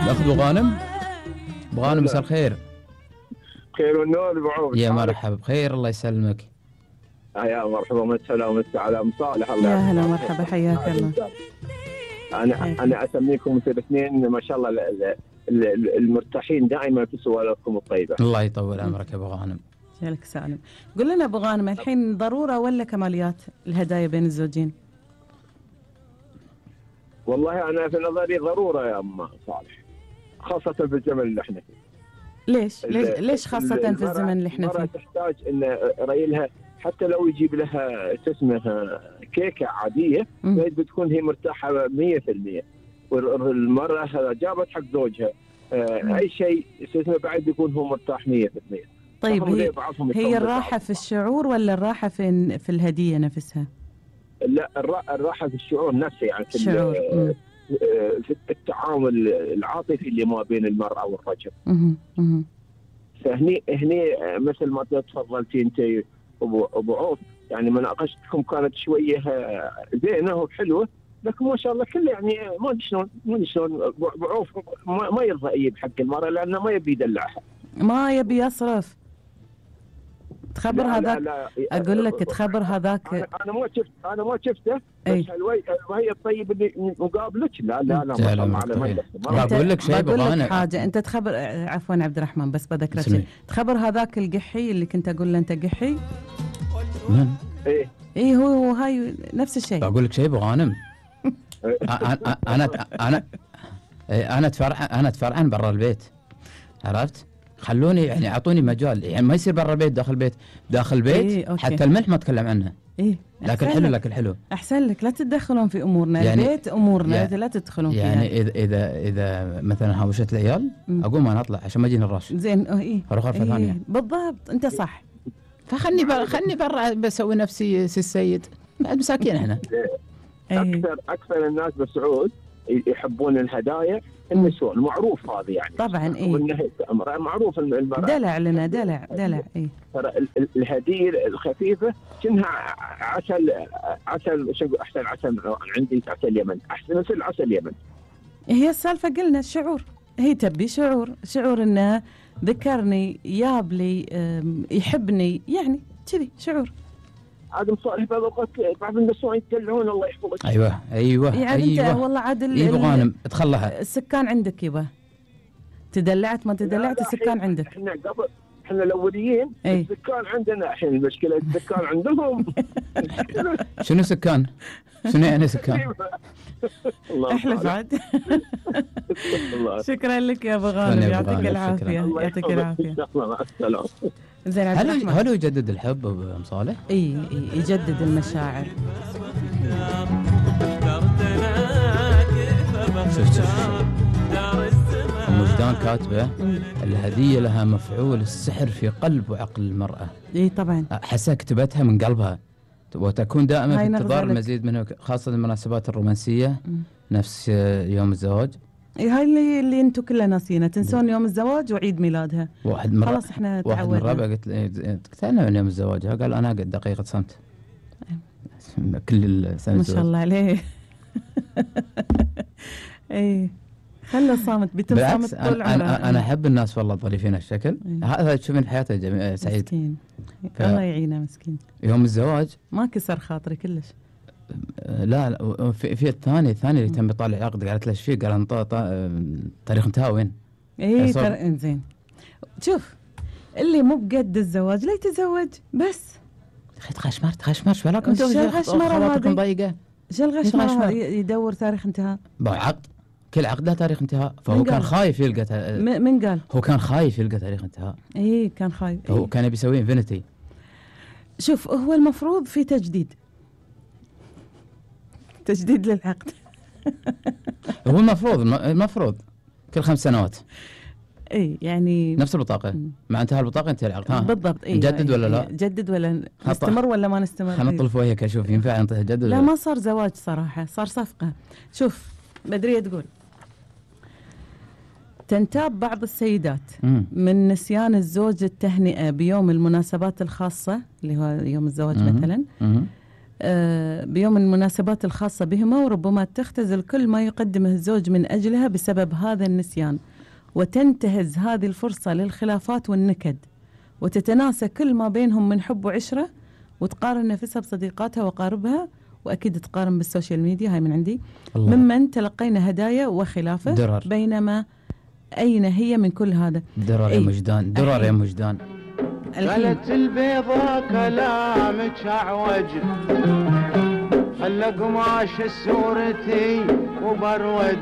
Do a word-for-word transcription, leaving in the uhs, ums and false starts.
ناخذ ابو غانم. ابو غانم مساء الخير. خير والنور ابو عوف. يا مرحبا بخير الله يسلمك. يا مرحبا ومسهلا ومسا على ام صالح. الله يا هلا مرحبا حياك الله. انا حياك. انا اسميكم مثل الاثنين ما شاء الله المرتاحين دائما في سوالفكم الطيبه. الله يطول عمرك يا ابو غانم. جالك سالم. قل لنا ابو غانم الحين ضروره ولا كماليات الهدايا بين الزوجين؟ والله انا في نظري ضروره يا ام صالح، خاصه في الزمن اللي احنا فيه. ليش؟ ليش ليش خاصه في الزمن اللي احنا فيه؟ تحتاج ان ريلها حتى لو يجيب لها اسمها كيكه عاديه بتكون هي مرتاحه مية بالمية، والمراه جابت حق زوجها اي شيء اسمه بعد بيكون هو مرتاح مية بالمية. طيب هي, هي الراحه في الشعور ولا الراحه في في الهديه نفسها؟ لا الراحه في الشعور نفسه، يعني في الشعور. في التعامل العاطفي اللي ما بين المراه والرجل. فهني هني مثل ما تفضلتي انت ابو ابو عوف، يعني مناقشتكم كانت شويه زينه وحلوه، لكن ما شاء الله كله يعني ما ادري شلون ما ادري شلون ابو عوف ما, ما يرضى يجيب حق المراه لانه ما يبي يدلعها، ما يبي يصرف. تخبر هذاك اقول لك تخبر هذاك. انا, أنا ما شفت انا ما شفته بس الوي وهي الطيب اللي مقابلك. لا لا لا ما على ما بقول لك شيء بقول لك حاجه. انت تخبر عفوا عبد الرحمن بس بذكرك شيء. تخبر هذاك القحي اللي كنت اقول له انت قحي. من؟ ايه ايه هو هو هاي نفس الشيء. بقول لك شيء ابو غانم. انا انا انا انا اتفرع انا اتفرعن برا البيت، عرفت؟ خلوني يعني اعطوني مجال، يعني ما يصير برا البيت داخل البيت داخل البيت. إيه حتى الملح ما اتكلم عنها. ايه لكن حلو لكن حلو احسن لك لا تتدخلون في امورنا. يعني البيت امورنا يعني لا تدخلون فيها. يعني اذا اذا اذا مثلا هاوشت العيال اقوم انا اطلع عشان ما يجيني الراش. زين ايه اروح غرفه إيه ثانيه. بالضبط انت صح. فخلني برا خلني برا بسوي نفسي سي السيد، بعد مساكين احنا. اكثر اكثر الناس بالسعود يحبون الهدايا النسوان، معروف هذا يعني. طبعا ايه معروف المرأة دلع لنا دلع دلع ايه. ترى الهديه الخفيفه كأنها عسل عسل شو احسن عسل عندي عسل اليمن، احسن مثل عسل اليمن. هي السالفه قلنا الشعور، هي تبي شعور شعور انه ذكرني ياب لي يحبني يعني كذي شعور. عاد مصالح بعض الاوقات بعض النسوان يدلعون الله يحفظك. ايوه ايوه يعني ايوه انت والله عاد اي ابو غانم تخلها. السكان عندك يبا تدلعت ما تدلعت السكان عندك. احنا قبل احنا الاوليين ايه؟ السكان عندنا الحين المشكله السكان عندهم. شنو سكان؟ شنو يعني سكان؟ احلف عاد. شكرا لك يا ابو غانم يعطيك العافيه يعطيك العافيه. مع السلامه. زين هل هل يجدد الحب ابو صالح؟ اي يجدد المشاعر. شفت وجدان كاتبه الهديه لها مفعول السحر في قلب وعقل المراه. اي طبعا حسها كتبتها من قلبها، وتكون دائما في انتظار المزيد منه خاصه المناسبات الرومانسيه م. نفس يوم الزواج. اي هاي اللي اللي انتم كلنا ناسينها، تنسون يوم الزواج وعيد ميلادها. واحد مرة خلاص احنا تعودنا. واحد من الربع قلت قلت انا من يوم الزواج، قال انا قد دقيقه صمت. كل السنه ما شاء الله عليه. اي خلى صامت بيتم صامت طول عمره. انا انا احب الناس والله ظريفين الشكل. هذا تشوفين حياته جميل سعيد مسكين. ف... الله يعينه مسكين. يوم الزواج ما كسر خاطري كلش. لا لا في, في الثاني الثاني اللي تم بيطالع عقد، قالت له ايش فيه؟ قال تاريخ انتهى وين؟ اي ترى زين. شوف اللي مو بقد الزواج لا يتزوج بس. تخشمر تخشمر شو لكم انتم خاطركم ضيقه. شو الغشمر يدور تاريخ انتهاء؟ عقد كل عقد له تاريخ انتهاء، فهو كان خايف يلقى. من قال؟ هو كان خايف يلقى تاريخ انتهاء. اي كان خايف. هو إيه؟ كان بيسوي انفينيتي. شوف هو المفروض في تجديد تجديد للعقد. هو المفروض المفروض كل خمس سنوات. اي يعني نفس البطاقه مع انتهاء البطاقه انتهى العقد. ها بالضبط. اي نجدد ولا لا؟ نجدد ولا نستمر ولا ما نستمر؟ خلينا نطلف وجهك اشوف ينفع نجدد. لا ما صار زواج صراحه، صار صفقه. شوف بدريه تقول تنتاب بعض السيدات مم. من نسيان الزوج التهنئه بيوم المناسبات الخاصه اللي هو يوم الزواج مم. مثلا مم. آه، بيوم المناسبات الخاصة بهما، وربما تختزل كل ما يقدمه الزوج من أجلها بسبب هذا النسيان، وتنتهز هذه الفرصة للخلافات والنكد، وتتناسى كل ما بينهم من حب وعشرة، وتقارن نفسها بصديقاتها وقاربها، وأكيد تقارن بالسوشيال ميديا. هاي من عندي الله. ممن تلقينا هدايا وخلافه درر. بينما أين هي من كل هذا؟ درر يا مجدان، درر يا مجدان. قالت البيضة كلامك أعوج، خلى قماش السورتي وبرود،